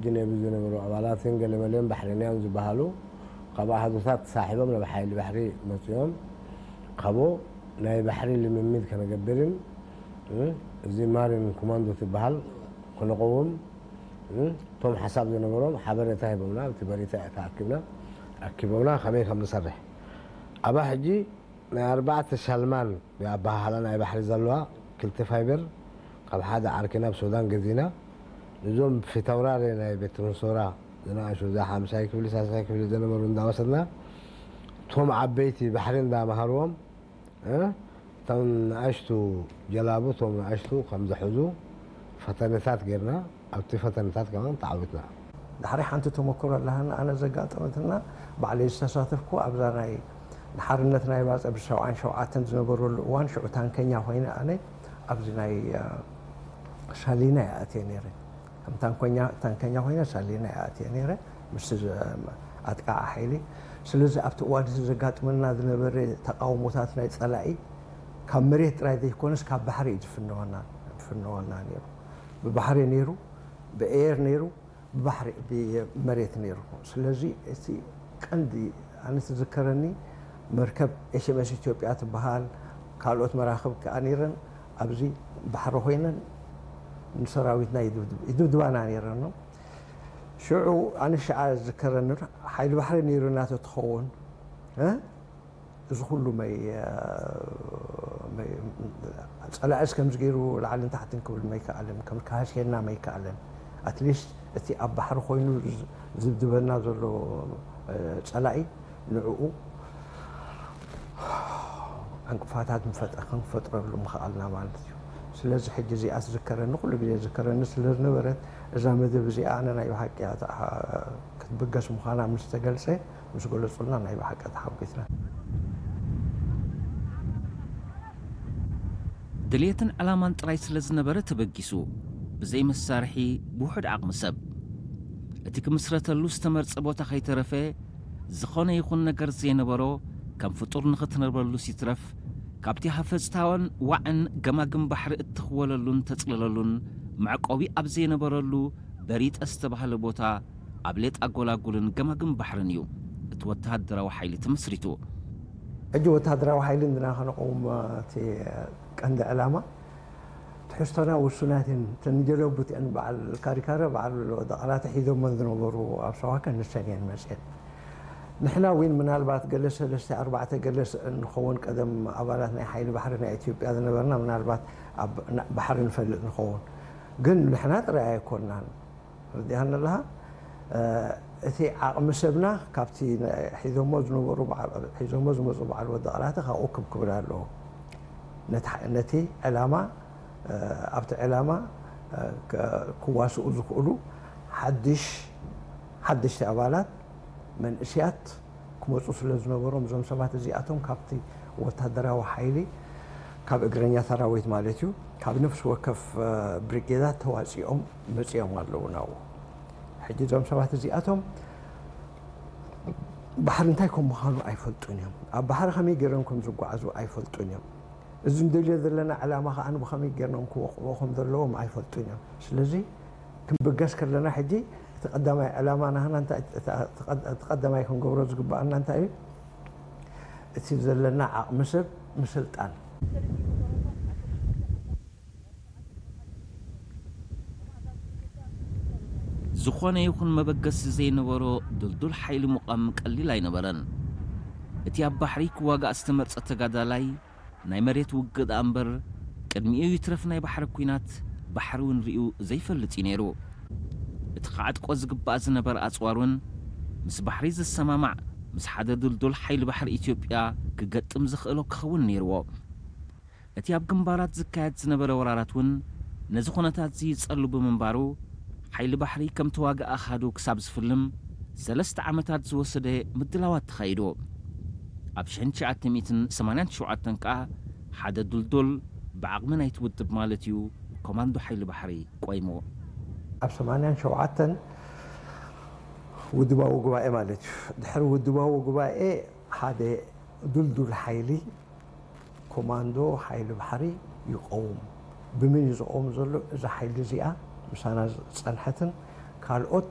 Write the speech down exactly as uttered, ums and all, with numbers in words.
ጅኔቡ ዝነበሩ አባላትን ገሌ መሌም ባሕረኛን ዝበሃሉ፣ ካብ አሃዱታት ተሳሒቦም ናብ ሓይሊ ባሕሪ መጽኦም። ካቦ ናይ ባሕሪ ልምምድ ከነገብርን፣ እ፣ እዚ ማሪን ኮማንዶ ትበሃል ክነቀውም፣ እ፣ እቶም ሓሳብ ዝነበሮም ሓበሬታ ሂቦምና፣ ኣብቲ በሪታ ተኣኪብና፣ ኣኪቦምና ከመይ ከም ንሰርሕ። ኣባ ሕጂ ናይ ኣርባዕተ ሻልማን ኣበሃህላ ናይ ባሕሪ ዘለዋ ክልተ ፋይበር ካብ ሓደ ዓርኪ ናብ ሱዳን ገዚእና። እዞም ፊተውራሪ ናይ ቤት ትምህርት ሶራ ዝነኣሹ፣ እዛ ሓምሳይ ክፍሊ፣ ሳልሳይ ክፍሊ ዝነበሩ እንዳወሰድና፣ እቶም ዓበይቲ ባሕሪ እንዳመሃርዎም፣ እ፣ እቶም ንኣሽቱ ጀላቡ፣ እቶም ንኣሽቱ ከም ዝሕዙ ፈተነታት ጌርና። ኣብቲ ፈተነታት ከማን ተዓዊትና። ዳሕራይ ሓንቲ ተመክሮ ኣለሃና፣ ኣነ ዘጋጠመትና፣ ባዕለይ ዝተሳተፍኩ ኣብዛ ናይ ንሓርነት ናይ ባጽዕ ብሰብዓን ሸውዓተን ዝነበረሉ እዋን፣ ሽዑ ታንከኛ ኮይነ ኣነ ኣብዚ ናይ፣ እ፣ ሻሊና እየ ኣትየ ነይረ። ከም ታንኮኛ፣ ታንከኛ ኮይነ ሻሊና እየ ኣትየ ነይረ፣ ምስ ኣጥቃዓ ሓይሊ። ስለዚ ኣብቲ እዋን እዚ ዘጋጥመና ዝነበረ ተቃውሞታት ናይ ጸላኢ ካብ መሬት ጥራይ ዘይኮነስ ካብ ባሕሪ እዩ ዝፍነወና፣ ዝፍነወና ነይሩ። ብባሕሪ ነይሩ፣ ብኤር ነይሩ፣ ብባሕሪ፣ ብመሬት ነይሩ። ስለዚ እቲ ቀንዲ ኣነ ትዝከረኒ መርከብ ኤች ኤም ኤስ ኢትዮጵያ ትበሃል፣ ካልኦት መራኽብ ከኣ ነይረን፣ ኣብዚ ባሕሪ ኮይነን ንሰራዊትና ይድብድብ-፣ ይድብድባና ነይረን ነው። ሽዑ ኣነ ሽዓ ዝዝከረኒ ሓይሊ ባሕሪ ነይሩና ተትኸውን፣ እ? እዚ ኩሉ መይ-፣ መይ-፣ ጸላእስ ከምዚ ገይሩ ላዕልን ታሕትን ክብል መይከኣለን፣ ከም ከሃስየና መይከኣለን። ኣትሊስት እቲ ኣብ ባሕሪ ኮይኑ ዝ-፣ ዝድብድበና ዘሎ፣ እ፣ ጸላኢ ንዕኡ ዕንቅፋታት ምፈጠ-፣ ክንፈጥረሉ ምኸኣልና ማለት እዩ። ስለዚ ሕጂ እዚኣ ትዝከረኒ፣ ኩሉ ግዜ ትዝከረኒ ስለ ዝነበረት፣ እዛ መደብ እዚኣ ኣነ ናይ ብሓቂ እያ ተኣ-፣ ክትብገስ ምዃና ምስ ተገልጸ፣ ምስ ገለጹልና ናይ ብሓቂ ተሓጒስና። ድልየትን ዕላማን ጥራይ ስለ ዝነበረ ተበጊሱ፣ ብዘይ መሳርሒ ብውሑድ ዓቕሚ ሰብ። እቲ ክምስረተሉ ዝተመርጸ ቦታ ከይተረፈ፣ ዝኾነ ይኹን ነገር ዘይነበሮ፣ ከም ፍጡር ንኽትነብረሉስ ይትረፍ፣ ካብቲ ሃፈጽታወን ዋዕን ገማግም ባሕሪ እትኽወለሉን ተጽለለሉን መዕቆቢ ኣብ ዘይነበረሉ በሪጠ ዝተባህለ ቦታ፣ ኣብ ሌጣ ጎላጉልን ገማግም ባሕርን እዩ እቲ ወተሃደራዊ ሓይሊ ተመስሪቱ። ሕጂ ወተሃደራዊ ሓይሊ እንድና ከነቀውም እቲ ቀንዲ ዕላማ ትሕዝቶና ውሱናት እየን። እተን ጀለቡት እየን፣ በዓል ካሪካረ፣ በዓል ወዲ ቃላተ ሒዞመን ዝነበሩ ኣብ ሰዋከ ንሰን እየን መጽኤን። ንሕና እውን ምናልባት ገለ ሰለስተ ኣርባዕተ ገለ ስ-፣ እንኸውን ቀደም ኣባላት ናይ ሓይሊ ባሕሪ ናይ ኢትዮጵያ ዝነበርና ምናልባት ኣብ ና-፣ ባሕሪ ንፈልጥ ንኸውን። ግን ንሕና ጥራይ ኣይኮናን። ርዲኣኒ ኣለኻ? እ፣ እቲ ዓቕሚ ሰብና ካብቲ ነ-፣ ሒዞሞ ዝነበሩ በዓ-፣ ሒዞሞ ዝመጹ በዓል ወዲ ቃላተ ካብኡ ክብ ክብል ኣለዎ። ነቲ ሐ-፣ ነቲ ዕላማ፣ እ፣ ኣብቲ ዕላማ፣ እ፣ ከ-፣ ክዋስኡ ዝኽእሉ ሓድሽ፣ ሓደሽቲ ኣባላት መንእስያት ክመጹ ስለ ዝነበሮም፣ እዞም ሰባት እዚኣቶም ካብቲ ወታደራዊ ሓይሊ፣ ካብ እግረኛ ሰራዊት ማለት እዩ፣ ካብ ነፍሲ ወከፍ፣ እ፣ ብሪጌዳት ተዋጺኦም መጺኦም ኣለዉ ናብኡ። ሕጂ እዞም ሰባት እዚኣቶም ባሕሪ እንታይ ከም ምዃኑ ኣይፈልጡን እዮም። ኣብ ባሕሪ ከመይ ገይሮም ከም ዝጓዓዙ ኣይፈልጡን እዮም። እዚ እንደልዮ ዘለና ዕላማ ከኣ ብኸመይ ገይሮም ክወቕዕዎ ከም ዘለዎም ኣይፈልጡን እዮም። ስለዚ ክንብገስ ከለና ሕጂ እቲ ቀዳማይ ዕላማ ናህና እንታይ፣ እቲ፣ እቲ ቀድ-፣ እቲ ቀዳማይ ክንገብሮ ዝግበኣና እንታይ እዩ? እቲ ዘለና ዓቕሚ ሰብ ምስልጣን። ዝኾነ ይኹን መበገሲ ዘይነበሮ ድልዱል ሓይሊ ምቋም ቀሊል ኣይነበረን። እቲ ኣብ ባሕሪ ክዋጋእ ዝተመርጸ ተጋዳላይ ናይ መሬት ውግእ ደኣ እምበር፣ ቅድሚኡ ይትረፍ ናይ ባሕሪ ኲናት፣ ባሕሪ እውን ርእዩ ዘይፈልጥ እዩ ነይሩ። እቲ ክዓጥቆ ዝግባእ ዝነበረ ኣጽዋር እውን፣ ምስ ባሕሪ ዝሰማማዕ፣ ምስ ሓደ ድልዱል ሓይሊ ባሕሪ ኢትዮጵያ ክገጥም ዝኽእሎ ክኸውን ነይርዎ። እቲ ኣብ ግንባራት ዝካየድ ዝነበረ ወራራት እውን፣ ነዚ ኩነታት እዚ ይጸሉ ብምንባሩ፣ ሓይሊ ባሕሪ ከም ተዋጋኢ ኣሃዱ ክሳብ ዝፍልም ሰለስተ ዓመታት ዝወሰደ ምድላዋት ተኻይዱ። ኣብ ሽሕን ትሽዓተ ሚእትን ሰማንያን ሸውዓተን ከኣ ሓደ ዱልዱል ብዓቕሚ ናይቲ ውድብ ማለት እዩ ኮማንዶ ሓይሊ ባሕሪ ቆይሙ። ኣብ ሰማንያን ሸውዓተን ውድባዊ ጉባኤ ማለት እዩ። ድሕሪ ውድባዊ ጉባኤ ሓደ ዱልዱል ሓይሊ ኮማንዶ ሓይሊ ባሕሪ ይቀውም። ብምን እዩ ዝቀውም ዘሎ? እዛ ሓይሊ እዚኣ ምሳና ዝጸንሐትን ካልኦት